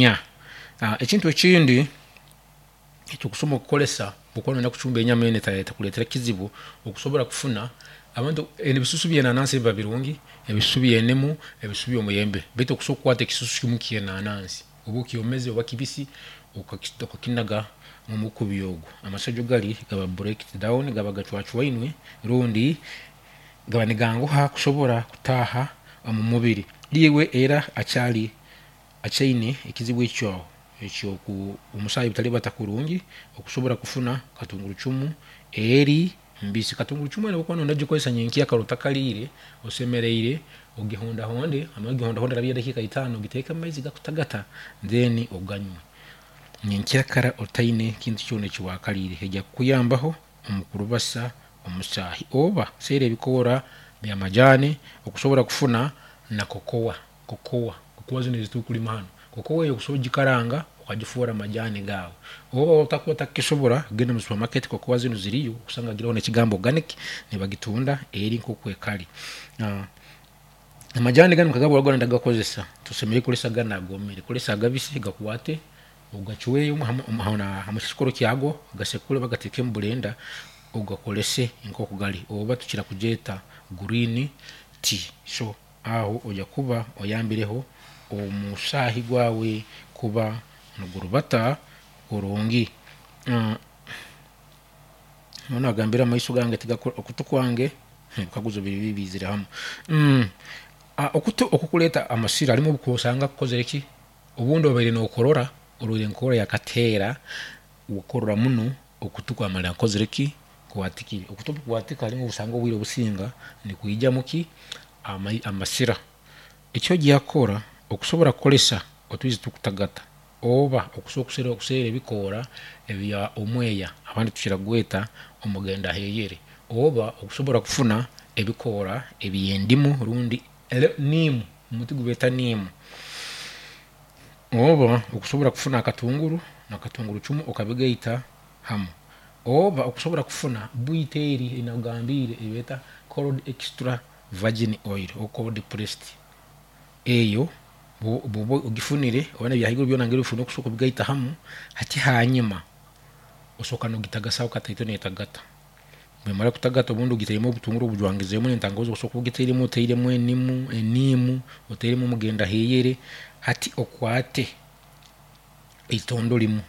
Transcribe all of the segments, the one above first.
Inya. Ekintu ekindi eki okusobora kukoresa obu okuba noyenda kucumba enyama enu etakuretera ekizibu, okusobora kufuna abantu ebisusu byenanansi biba birungi, ebisusu byenimu, ebisusu byomuyembe, baitu okusobola kukwata ekisusu kimu kyenanansi oba okyomeze oba kibisi, okakinaga mumukubi ogu, amasajwa gari gaba breaked down, gaba gacwacwainwe rundi gaba niganguha kusobora kutaaha omumubiri. Iwe era akyari akyaine ekizibu ekyo ekyomusaayi butaribata kurungi, okusobora kufuna katungurucumu eri mbisi. Katungurucumu enu obu okuba noyenda kugikozesa nyenkyakara otakariire, osemereire ogihondahonde, wamara kugihondahonda harabayo edakiika itaano ogiteeke mumaizi gakutagata then oganywe nyenkyakara otaine kintu kyona eki wakariire. Eija kukuyambaho omu kurubasa omusaahi oba seera ebikoora by'amajaani okusobora kufuna na kokowa, kokowa, kokowa zinu ezitukulima hanu, kokowa eyo okusobora kugikaranga okagifoora amajaani gaawe. Oba otakuba otakukisobora, genda omu supermarket kokowa zinu ziriyo, okusanga giriho n'ekigambo organic, nibagitunda eri nkoku ekari. Amajaani ganu nkagamba obu orikuba noyenda kugakozesa, tosemeriire kukozesa ganu agomere, kozesa agabisi gakwate ogacweyo hamukikoro kyago, ogasekure oba ogateeke omu blender ogakorese nkoku gari oba tukira kugyeta green tea. So aho oija kuba oyambireho omusaahi gwawe kuba nigurubata kurungi. Onu agambire amaiso gange okutu kwange, ebikaguzo biri bibi biizire hamu. Okutu okukureeta amasira harimu obu osanga kukozire ki? Obundi obaire nokorora, orwaire enkorora ya kateera, wakorora muno okutu kwamara kukozire ki? Kwatikire. Okutu obu kukwatika harimu obu osanga obwire obusinga nikwijamu ki? Amasira. Eki oija kukora okusobora kukoresa otwizi tukutagata oba okusobora kuseera ebikoora ebya omweya abandi tukira kugweta omugendaheyere oba okusobora kufuna ebikoora eby'endimu rundi niimu, omuti gubeeta niimu, oba okusobora kufuna akatunguru na katungurucumu okabigaita hamu, oba okusobora kufuna bwito eri eyinakugambiire eyibeeta cold extra virgin oil or cold pressed, eyo bwoba ogifunire oba nebyahaiguru byona okusobora kubigaita hamu, hati hanyima osooka nogitagasaho kataito netagata, bwemara kutagata obundi ogiteiremu obutunguru obujwangizemu nentangahuzi osobola kuba ogiteiremu oteiremu enimu, eniimu, oteiremu omugendaheyere, hati okwate eitondo rimu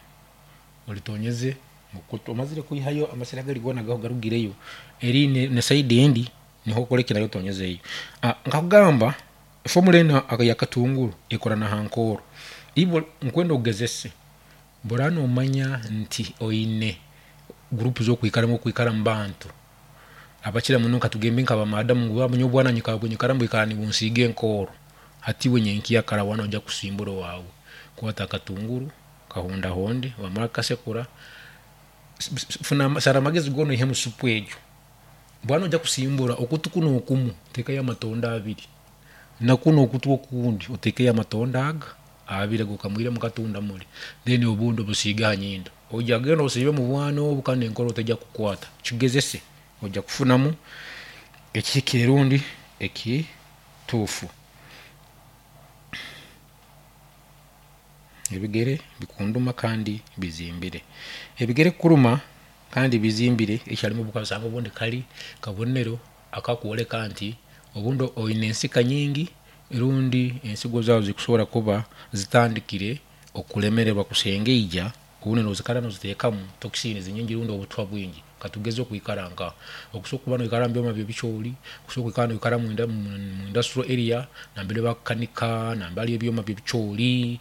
oritonyeze mukutu, omazire kwihayo amasira gari goona garugireyo, eri na sayidi endi niho okoreki nayo otonyezeyo. Nkakugamba efomura enu eyakatunguru ekora naha nkooro, iwe nkwenda ogezese bworaba nomanya nti oine gurupu zokwikaramu orikwikara mubantu abakira muno katugambe nka ba madamu ngu nyowe obwana nyikara nibwikara nibunsiiga enkooro, hati iwe nyenkyakara waaba noija kusimbura owaawe, kwata akatunguru kahondahonde wamara kukasekura, sara amagezi goona oihemu supu egyo, waaba noija kusimbura okutu kunu okumu oteekeyo amatondo abiri, na kunu okutu okundi oteekeyo amatondo aga abiri agu okamwiremu katunda muri, then obundi obusiige aha nyindo. Oija kugenda osiibe mubwana obu kandi enkoro teija kukukwata. Kigezese oija kufunamu ekihikire rundi ekituufu. Ebigere bikunduma kandi bizimbire. Ebigere kukuruma kandi bizimbire ekyo harimu obu obundi kari kabonero akakworeka nti obundi oine ensika nyingi rundi ensigo zaawe zikusobora kuba zitandikire okuremererwa kusengeija obundi nozikara noziteekamu toxins nyingi rundi obutwa bwingi. Katugeze okwikara nka okusobola kuba noikara omu byoma by'ebicoori, okusobola kwikara noikara omu industrial area nambere bakukanika, nambere hariyo ebyoma by'ebicoori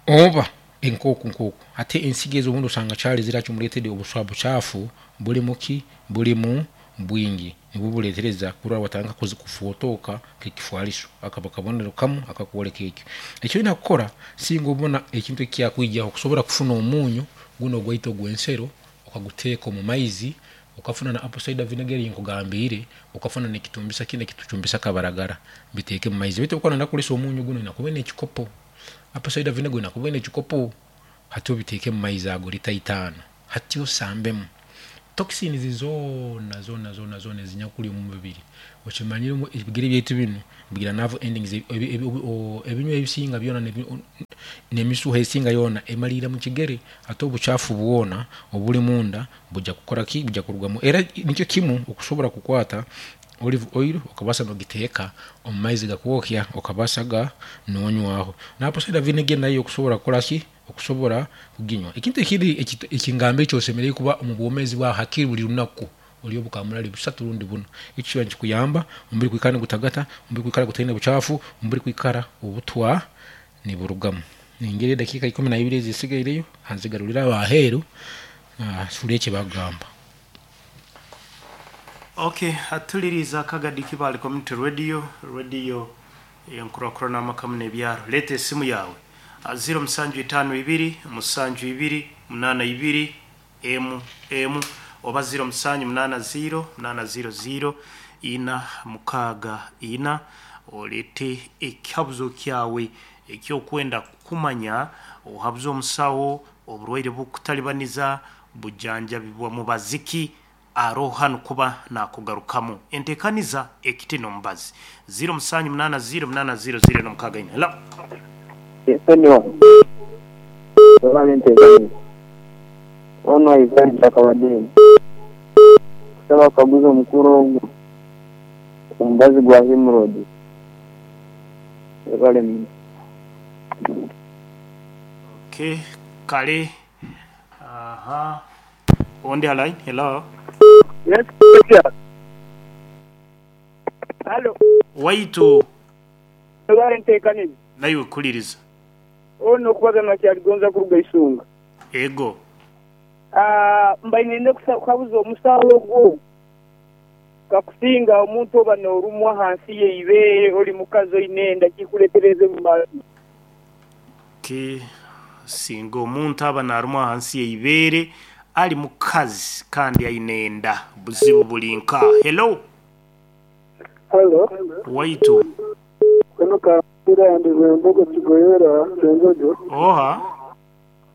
oba nk'oku nk'oku. Hati ensigo ezo obundi osanga kyari zirakimureetera obucaafu burimu ki? Burimu bwingi nibwo bureetereza kurora watandika kufotooka nk'ekifwariso. Akaba kabonero kamu akakworeka ekyo. Eki oine kukora singa obona ekintu eki kyakwijaho kusobora kufuna omunyu gunu ogwaitu ogw'ensero okaguteeka omu maizi, okafuna na apple cider vinegar ei nkugambiire, okafuna n'ekitumbisa kinu ekitucumbisa kabaragara, biteeke omu maizi. Beitu obu okuba noyenda kukoresa omunyu gunu oine kuba oine ekikopo, apple cider vinegar oine kuba oine ekikopo, hati obiteeke omu maizi ago lita itaano, hati osambemu. Toxins zoona zoona zoona zoona ezinyakuli omu mubiri. Okimanyire ngu ebigere byaitu binu bigira nerve endings, ebinywa ebisinga byona n'emisuha esinga yoona emaliira mu kigere. Hati obucaafu bwona obuli munda buja kukora ki? Buja kurugamu. Era nikyo kimu okusobora kukwata olive oil okabaasa n'ogiteeka omu maizi gakwokya okabaasa ga nonywaho. Na apple cider vinegar nayo okusobora kukora ki? Okusobora kuginywa. Ekintu ekindi ekingamba eki osemeriire kuba omu bwomeezi bwawe hakiri buli lunaku olye obukamurari busatu rundi buna. Eki kiba nikikuyamba omubiri kwikara nigutagata, omubiri kwikara gutaine bucaafu, omubiri kwikara obutwa niburugamu. Ningira edakiika ikumi na ibiri ezisigaireyo kanzigarurire abo aheeru tuhurire eki bakugamba. Ok, atuliriize akagadi Kibaale Community Radio, Radio Enkurakurana amaka muno ebyaro. Leeta esimu yaawe aha ziro musanju itaano ibiri musanju ibiri munaana ibiri emu emu oba ziro musanju munaana ziro munaana ziro ziro ina mukaaga ina oleete ekihabuzo kyawe ekyokwenda kumanya ohabuze omusaho oburwaire obukutalibaniza bujanjabibwa mubazi ki Aroho hanu kuba nakugarukamu. Entekaniza ekiti n'omubazi. Ziro musanju munana ziro munana ziro ziro ena mukaaga ina. Hello. Ensonyiwa webale entekaniza. Ono Ivan Kyakabadinga. Nkusaba kukaguza omukuru ogu omubazi gwa hemorrhoids. Webale muno. Okay, kale. Aha. Ondi ha line, hello. Yes teacher. Halo. Waitu. Webale ntekaniza. Naiwe kuliriza. Ono okubaza nakyaligonza kuruga Isunga. Ego. Mbaire nenda kuhabuza omusawo ogwo kakusinga omuntu oba norumwa hansi yeibeere oli mukazi oine enda kikuletereza omumazi. Ki singa omuntu aba narumwa ahansi yeibeere ali mukazi kandi aine enda buzibu buli nka. Hello. Halo. Waitu. Kunu Kampira ndi Rwembogo Kigoyera Kyenjojo. Oha.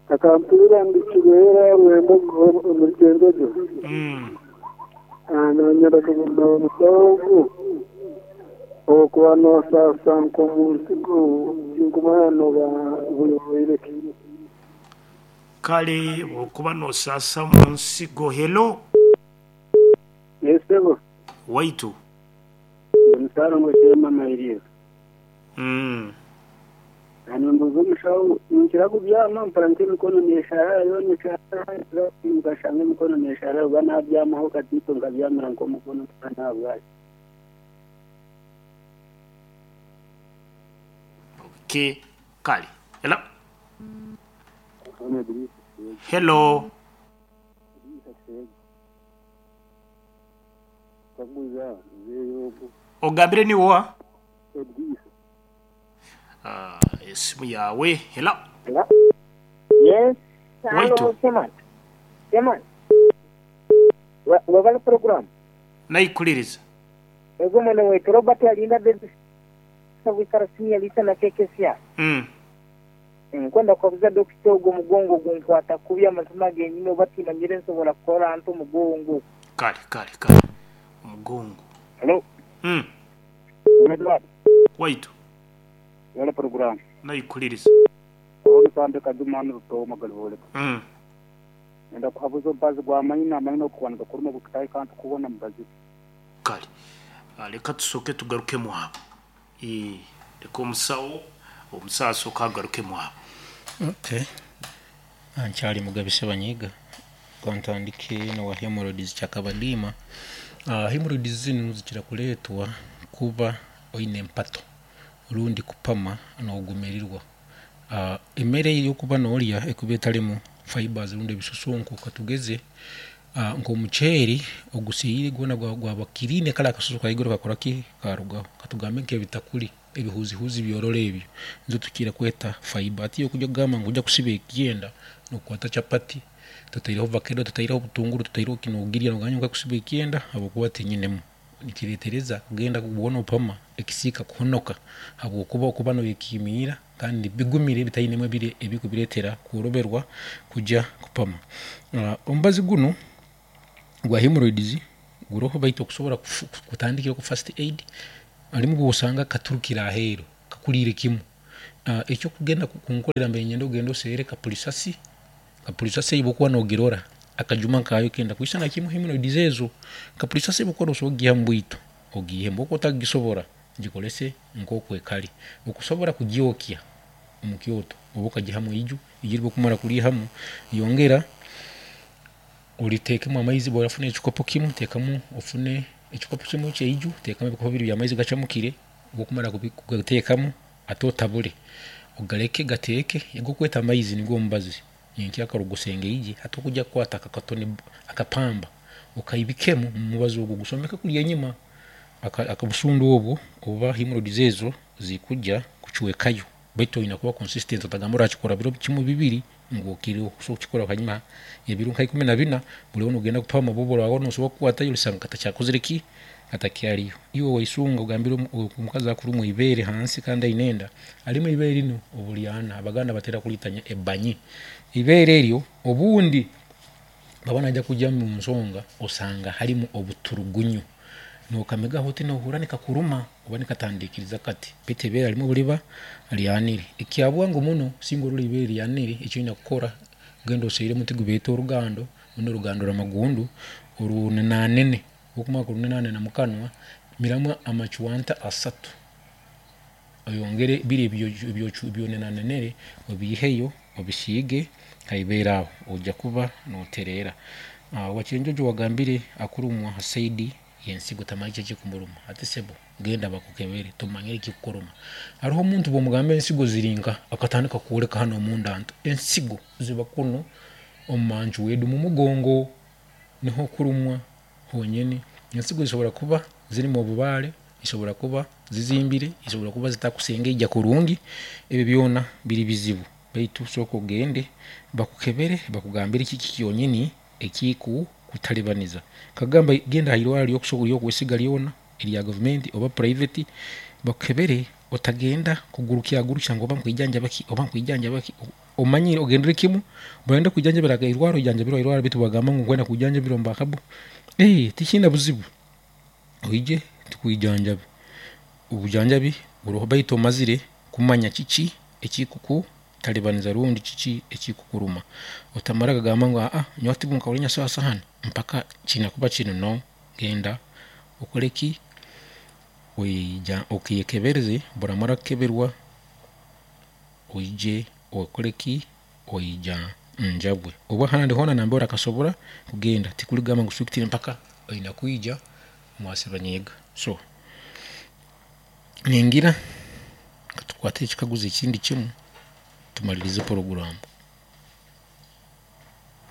Akampira ndi Kigoyera Rwembogo omuri Kyenjojo. Nanyenda kugamba omusawo ogu okuba nosasa nkomunsigo tinkumanya noba burwaire ki. Kale bwokuba nosasa munsigo hello. Yes sebo. Waitu. Ndi Musarongo Sheema Mairiiro. Nimbuuza omushaho, ninkira kubyama mpura nk'emikono neesharara yoona esharara, nkashanga emikono neesharara oba naabyamaho katiito nkabyamira nk'omukono nabwaki. Okay, kale. Hello. Hello. Ogambire niiwe oha? Esimu yaawe. Hello. Yes, Waitu. halo Chairman. Chairman. Webale program. Naikuliriza. Ego mwene waitu Robert Alinda Davis Bwikara Senior Lisa na KKCR. Nkwenda kukaguza dokita ogwo omugongo gunkwata kubi amazima genyini oba timanyire nsobora kukora nta omugongo. Kale kale kale omugongo. Hello. Edward. Waitu. Webale program. Naikuliriza. Ono Sande Kaduma hanu Rutooma Galiboleka. Nenda kuhabuza omubazi gwa maino, amaino ogukuba nigakuruma gukutahika ntukubona mubazi ki? Kale leka tusooke tugarukemu abo. Eeh leka omusawo omusawo asooke agarukemu abo. Okay. Nkyali Mugabi Ssebanyiiga. Kantandike n'owa hemorrhoids kyakabadiima. Hemorrhoids zinu zikira kureetwa kuba oine empato rundi kupama n'ogumirirwa. Emere ei orikuba noorya ekuba etarimu fibres rundi ebisusunku katugeze nk'omuceeri ogusiire gwona gwaba kiriine kare akasusu kahaiguru kakora ki? Karugaho. Katugambe nk'ebitakuri ebihuzihuzi byororo ebyo nizo tukira kweta fibre. Hati iwe kuija kugamba ngu oija kusiba ekyenda nokwata chapati totaireho vakedo, totaireho obutunguru, totaireho ki nogirya nogamba nyowe nkakusiba ekyenda habwokuba tinyinemu. Nikireetereza kugenda kuba noopama ekisiika kuhonoka habwokuba okuba noyekiimiira kandi bigumire bitainemu ebiri ebirikubireetera kworoberwa kugya kupama. Omubazi gunu. Gwa hemorrhoids guroho baitu okusobora kutandikira ku first aid harimu obwosanga katurukire aheeru kakuriire kimu. Ekyokugenda kunkorera mbaire niinyenda ogende oseere kapurisasi, kapurisasi ei obu okuba nogirora akajuma nkayo kenda kwisana kimu hemorrhoids ezo. Kapurisasi obu okuba nosobora kugiiha mubwito ogiihemu, obu okuba otakugisobora gikorese nkoku ekari. Okusobora kugyokya omu kyoto oba okagihamu eiju, eiju eri obu okumara kuriihamu yongera oriteekemu amaizi, obu orafuna ekikopo kimu teekamu ofune ekikopo kimu ekyeiju teekamu ebikopo bibiri by'amaizi gacamukire, obu okumara kugateekamu hati otabure ogareke gateeke, agu orikweta amaizi nigwo omubazi nyenkyakara ogusengeije hati okujya kukwata akakatoni akapamba okaibikemu omu mubazi ogu ogusomeke kuriya enyima obusundu obwo oba hemorrhoids ezo zikujya kucwekayo baitu oyine kuba consistent otagamba orakikora biro kimu bibiri ngu okireho osobola kukikora hanyuma y'ebiro nka 14 buri obu nogenda kupama obu oraba nosobora kukwatayo orisanga katakyakozire ki katakyariyo. Iwe waisunga ogambire omukazi akurumwa eibeere hansi kandi aine enda, harimu eibeere rinu oburyana Abaganda batera kuryeta ebanyi. Eibeere eryo obundi baba naija kugya omu nsonga osanga harimu obuturugunyu nokamigaho oti nohurra nikakuruma oba nikatandikiriza kati baitu eibeere harimu oburiba ryanire. Ekyabwangu muno singa orora eibeere ryanire eki oine kukora genda oseere omuti gubeeta orugando rundi orugando rwamagundu orunenanene obu okumara kurunenanena mukanwa miramu amacwanta asatu oyongere biri ebi onenanenere obiiheyo obisiige haibeere aho oija kuba notereera. Owakyenjojo wagambire akurumwa ha saidi y'ensigo tamanya kiki ekikumuruma hati sebo genda bakukebere tumanye ekikukuruma. Haroho omuntu bwomugamba ensigo ziri nkaha akatandika kukwoleka hanu omunda nti ensigo ziba kunu omu manju omu mugongo niho okurumwa honyini. Ensigo zisobora kuba zirimu obubaare, zisobora kuba zizimbire, zisobora kuba zitakusengeija kurungi, ebi byona biri bizibu baitu sooka ogende bakukebere bakugambire kiki kyonyini ekikukutalibaniza. Nkagamba genda hairwarro eryokwesiga ryona erya gavumenti oba private bakukebere otagenda kugurukyagurukya ngu oba nkwijanjaba ki oba nkwijanjaba ki omanyire ogendere kimu barenda kwijanjabira hairwarro oijanjabirwe hairwarro baitu bagamba ngu nkwenda kwijanjabira omu bakabu tikiine buzibu oije tukwijanjabe. Obujanjabi buroho baitu omazire kumanya kiki ekikukutalibaniza rundi kiki ekikukuruma. Otamara kugamba ngu nyowe hati nkahurra ninyasaasa hanu mpaka kiine kuba kinu no, genda okore ki okekebereze obu oramara kukeberwa oije okore ki oijanjabwe. Oba ahandi hoona nambere orakasobora kugenda tikurigamba ngu strictly mpaka oine kwija omwa Ssebanyiiga. So ningira katukwate ekikaguzo ekindi kimu tumalirize puroguraamu.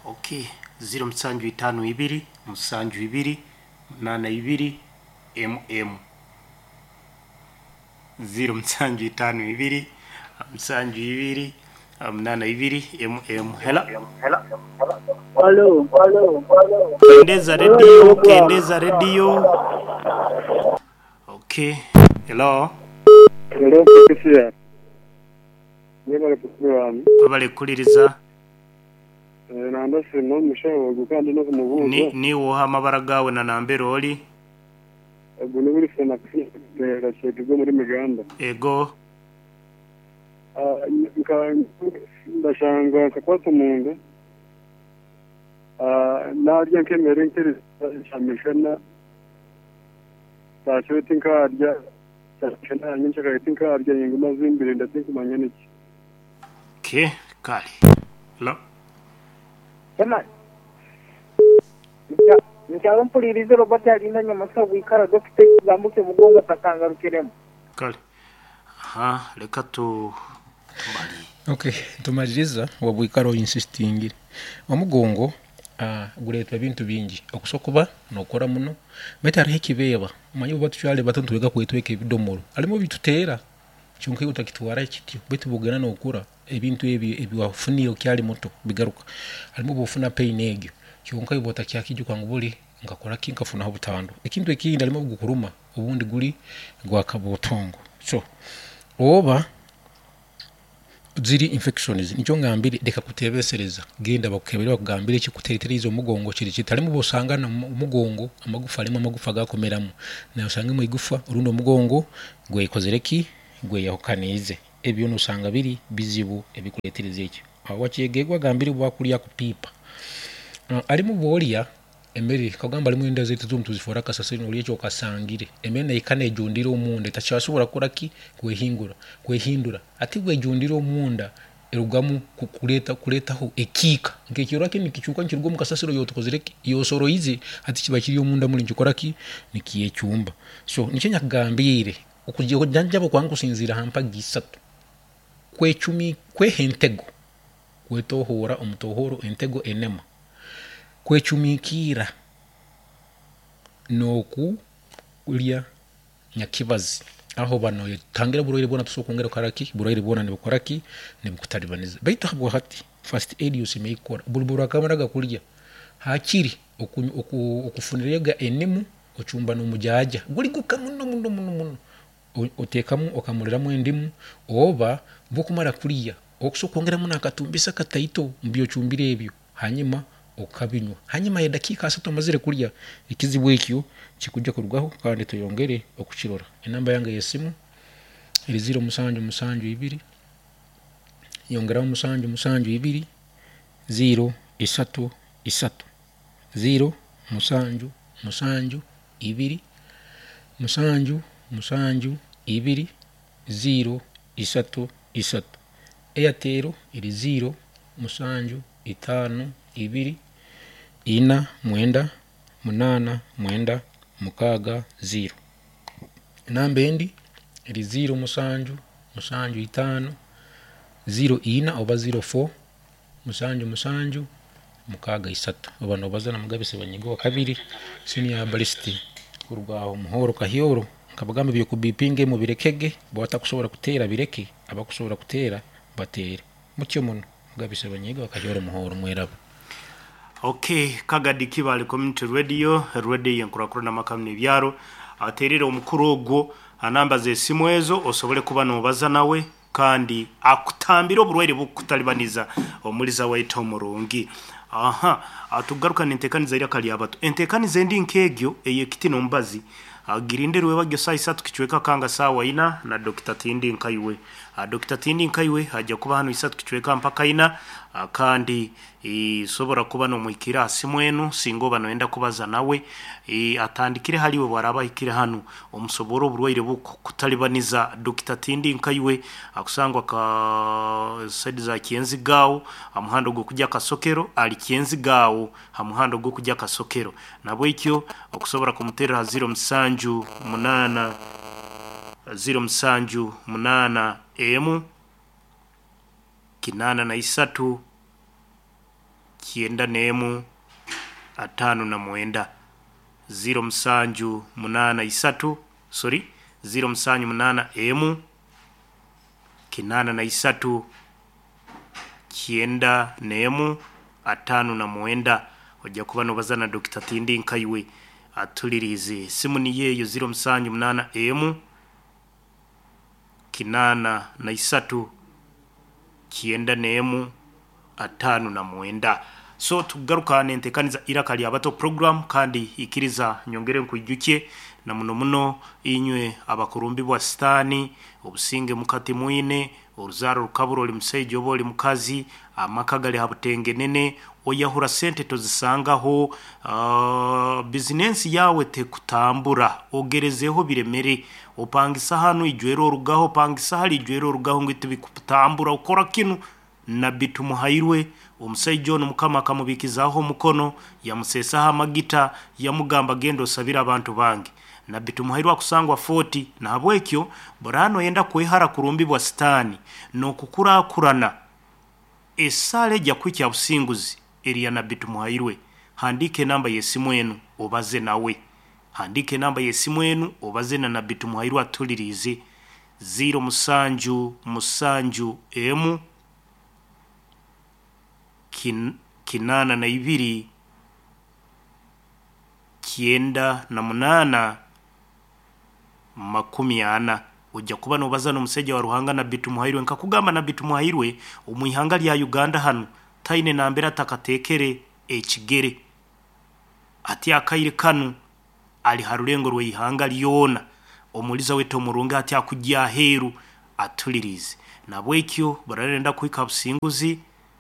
Okay, 0752 72 82 mm 0752 72 82 mm. Hello. Halo. Kendeza radio, kendeza radio. Okay. Hello. Hello Patricia. Mwebale puroguramu. Webale kukuliriza. Nandasima omushaho ogu kandi n'okumubuuza. Ni niiwe oha amabara gaawe na nambere ori? Ogu ni Wilson akufiire Kyegegwa omuri Miganda. Ego. Nka ndashanga nkakwata omunda narya nk'emere nk'ekyamishana saakiro tinkarya kyamishana nyenkyakare tinkarya ninguma zimbire nda tinkumanya niki. Okay, kale. Hello. Sema nkyalo mpulirize Robert alinda Nyamusa bwikara dokita ekigambo kye mugongo takangarukiremu. Kale. Aha, leka tu tumali. Okay, tumaliriza wabwikara oinsistingire. Omugongo gureetwa ebintu bingi. Okusobola kuba nokora muno baitu hariho ekibeeba. Omanyire obu tukyali bato nitwega kwetweka ebidomoro. Harimu ebituteera kyonka iwe otakitwara kityo baitu bwogenda nokura ebintu ebi ebiwafunire okyali muto bigaruka. Harimu obu ofuna pain egyo kyonka iwe otakyakijuka ngu buri nkakora ki nkafunaho obutandu. Ekintu ekindi harimu obugukuruma obundi guri gwa kabuutongo. So oba Ziri infections nikyo ngambire leka kutebesereza genda bakukebere bakugambire ekikutereteriize omugongo kiri kita. Harimu obwosanga omugongo amagufa harimu amagufa agakumeramu nosangemu eigufa orundi omugongo gwekozire ki gweyahukaniize ebyo nosanga biri bizibu ebikuretereza ekyo. Wakyegegwa agambire obwakurya kupiipa harimu obworya Emere, nkagamba harimu enda zaitu ezimu tuzifoora kasasiro nolya eki okasangire. Emere neika nejundira omunda etakyasobora kukora ki? Kwehingura, kwehindura. Hati bwejundira omunda erugamu kureeta kureetaho ekiika. Nk'ekirora kinu nikicuuka nikiruga omu kasasiro yotukozire ki? Yosoroize, hati kiba kiri omunda muri nikikora ki? Nikyecumba. So nikyo nyakugambiire, okujanjaba okwange kusinziira ha mpagi isatu, kwecumi kweha entego, kwetohoora omutohooro entego enema. Kwecumikiira n'okulya nyakibazi aho oba noyetangira oburwaire bwona tosobora kwongera kukora ki? Oburwaire bwona nibukora ki? Nibukutalibaniza. Baitu habwahati first aid osemeriire kukora buli bw'orakamaraga kulya hakiri okufunirega enimu ocumba n'omujaaja guli guka muno muno muno muno Oteekamu okamuriramu endimu oba bwokumara kurya okusobola kwongeramu n'akatumbisa kataito omu byocumbire ebyo hanyuma okabinywa. Hanyuma y'edakiika asatu omazire kurya, ekizibu ekyo kikujja kurugaho kandi toyongere okukirora. Enamba yange ey'esimu eri ziiro musanju musanju ibiri yongeraho musanju musanju ibiri ziiro isatu isatu ziiro musanju musanju ibiri, musanju, musanju, ibiri, ziiro, isatu, isatu. Airtel eri ziiro, musanju, itaano, ibiri, ina, mwenda, munaana, mwenda, mukaaga, ziiro. Enamba endi eri ziiro, musanju, musanju, itaano, ziiro, ina oba ziiro four, Musanju musanju mukaaga isatu. Oba nobaza na Mugabe Sebanyiga owa kabiri senior herbalist kuruga aho Muhoro Kahyoro. Nkabagamba eby'okubipinga mubirekege, bo abatakusobora kuteera bireke, abakusobora kuteera bateere. Mutyo muno. Mugabe Sebanyiga wa Kahyoro Muhoro mweraba. Ok Kagadi Kibaale Community Radio, radio y'enkurakurana amaka n'ebyaro. Ateerere omukuru ogwo aha namba z'esimu ezo osobole kuba noobaza nawe. Kandi akutambire oburwaire bukukutalibaniza omuliza waitu omurungi. Aha, tukugaruka nentekaniza iraka lyabato. Entekaniza endi nkegyo eyekiti nomubazi girinde rwebagyo saaha isatu kicweka kanga saawa ina na Dokita Tindi Nkaiwe. Dokita Tindi Nkaiwe aja kuba hanu isatu kicweka mpaka ina kandi Sobora kuba nomuhikira aha simu enu singa oba noyenda kubaza nawe. Atandikire hali iwe bwaraba ahikire hanu omusoborre oburwaire obukukutalibaniza. Dokita Tindi Nkaiwe akusangwa ka side za Kyenziga aho ha muhanda ogwokugya Kasokero, ali Kyenziga aho ha muhanda ogwokugya Kasokero. Nabwekyo okusobora kumuterra ha ziro musanju munana, ziro musanju munana emu, kinaana na isatu, kyenda n'emu, ataano na mwenda. Ziiro musanju munaana isatu, sorry, ziiro musanju munaana emu, kinaana na isatu, kyenda n'emu, ataano na mwenda. Oja kuba nobaza na Dokita Tindi Nkaiwe atuliriize. Esimu niyo eyo ziiro musanju munaana emu, kinaana na isatu, kyenda n'emu, ataano na mwenda. So tukugaruka n'entekaniza Iraka ly'Abato program kandi ikiriza nyongere nkwijukye na muno muno inywe abakurumbibwa sitaani, obusinge muka timwine, oruzaaro rukabura oli musaija oba oli mukazi, amaka gali ha butengenene, oyahura sente tozisangaho, bizinensi yaawe tekutambura, ogerezeeho biremere, opangisa hanu ijwere orugaho, opangisa hali ijwere orugaho ngu tibikutambura, okora kinu. Nabbi Tumuhairwe, omusaija onu mukama akamubikizaaho omukono, yamuseesaho amagita, yamugamba genda osabire abantu bange. Nabbi Tumuhairwe akusangwa Fort, nahabwekyo buraaba noyenda kwehara kurumbibwa sitaani n'okukurakurana, esaala eja kuhikya businguzi eri ya Nabbi Tumuhairwe. Handiika enamba y'esimu enu obaze nawe. Handiika enamba y'esimu enu obaze na Nabbi Tumuhairwe atuhuliriize, ziiro musanju musanju emu kinaana na ibiri kyenda na munaana makumi ana. Ojja kuba nobaza n'omusajja wa Ruhanga Nabbi Tumuhairwe. Nkakugamba Nabbi Tumuhairwe omu ihanga lya Uganda hanu taine nambere atakateekere ekigere. Hati akaire kanu ali ha rulengo rw'eihanga lyona. Omuliza waitu omurungi hati akugya aheeru atuliriize. Nabwekyo bararenda kuhika ha businguzi,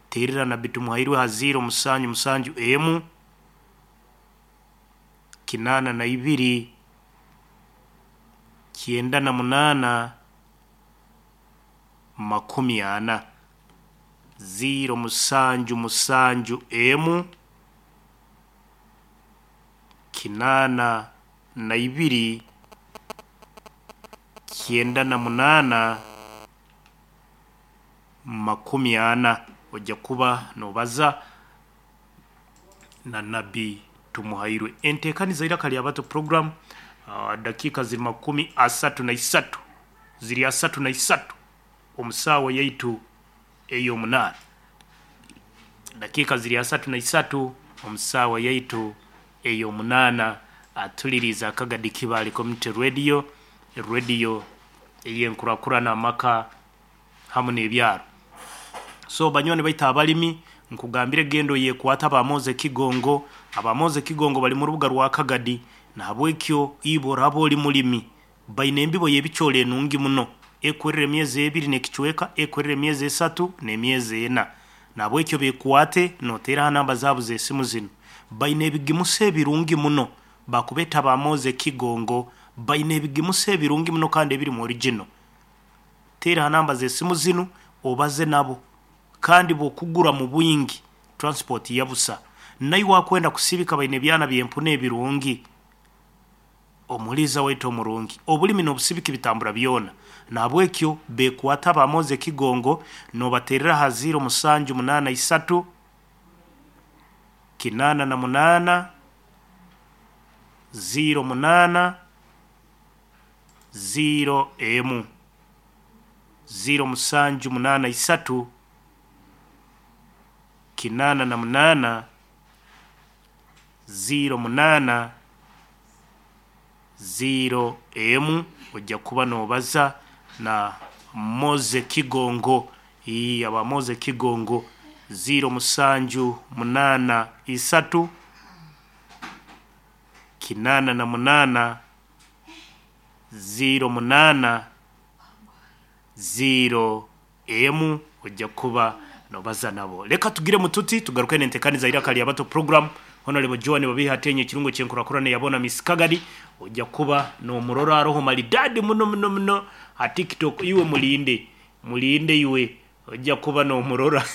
teerera Nabbi Tumuhairwe ha ziiro musanju musanju emu, 82, 98, 40. Ziiro musanju musanju emu, 82, 98, 40. Ojja kuba nobaza na Nabbi Tumuhairwe. Enteekaniza Iraka lya Bato program, dakiika ziri 33, ziri 33 omu saawa yaitu ey'omunaana. Dakiika ziri 33 omu saawa yaitu ey'omunaana. Atuliriize Akagadi Kibaale Community Radio, radio ey'enkurakurana amaka hamu n'ebyaro. So banywani baitu abalimi, nkugambire genda oyekwate aba Moze Kigongo. Aba Moze Kigongo bali mu rubuga rwa Kagadi, nahabwekyo iwe oraba ori mulimi, baine embibo y'ebicoori enungi muno, ekwerera emyezi ebiri n'ekicweka, ekwerera emyezi esatu n'emyezi ena. Nahabwekyo bekwate noteera ha namba zaabo z'esimu zinu. Baine ebigimusa ebirungi muno, bakubeta aba Moze Kigongo, baine ebigimusa ebirungi muno kandi ebirimu original. Teera ha namba z'esimu zinu obaze nabo kandi bw'okugura mu bwingi transport yabusa. Naiwe akwenda kusibika baine ebyana by'empunu ebirungi. Omuliiza waitu omurungi, obulimi n'obusibiki bitambura byona. Nahabwekyo bekwate aba Moze Kigongo nobateerera ha ziiro musanju munaana isatu, 88, 08, ziiro emu, ziiro musanju munaana isatu, 88, 08, ziiro emu. Ojja kuba nobaza na Moze Kigongo. Ii, aba Moze Kigongo, ziiro musanju munaana isatu, 88, 08, ziiro emu. Ojja kuba nobaza nabo. Leka tugire mututi tugaruke n'entekaniza Iraka lya Bato program. Honorable Joan Babiha Atenye ekirungo ky'enkurakurana yabona Miss Kagadi. Ojja kuba n'omurora aroho maridadi muno muno muno ha TikTok. Iwe mulinde, mulinde iwe, ojja kuba n'omurora.